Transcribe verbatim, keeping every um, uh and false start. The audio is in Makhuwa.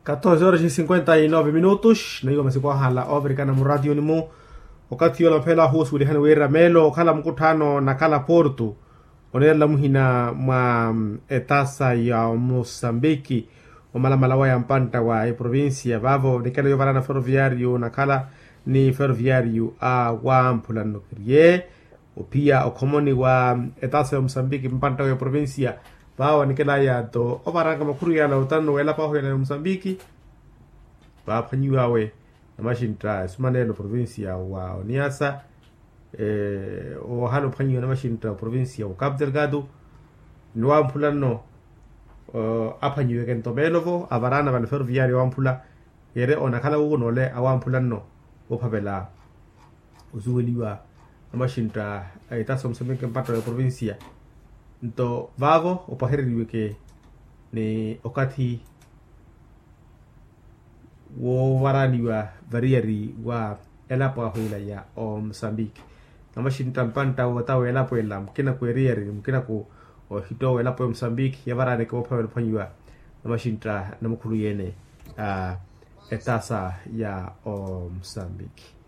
Katorze horas e cinquenta e nove minutos naiwa masiku ahala ovirikana muratiyoni-mu. Okathi yoola mphela ahuusuwelihani wira meelo okhala mukutthaano nakhala porto oneerela muhina mwa etasa ya musambiki omalamala waya mpantta wa eprovincia vaavo nikela yovarana ferroviario nakhala ni ferroviario a wamphula nnukeriye ophiya okhomoni wa etasa ya musambiki mpantta wa eprovincia. Vaavo nikelaya nto ovaranka makhuru yala otano welapaho yala ya musambiki vaaphwanyiwawe namaxintta esumanelo provincia wa oniasa. Ohala ophwanyiwa namaxintta provincia wa capu delgado ni wamphula nno aphwanyiweke nto meelovo avarana vale ferroviario wamphula. Yere onakhala wuwo noole awamphula nno ophavela osuweliwa namaxintta a etasa omusameke mpatta wa eprovincia. Nto vaavo opahereriweke ni okathi wovaraniwa variyari wa elapo ahu ila ya omusambiki. Namaxintta mpantta wootawa elapo ela mukina ku eriyari mukinaku ohittowa elapo ya omusambiki yavaraneke woophavela ophwanyiwa namaxintta namukhulu yeene a etasa ya omusambiki.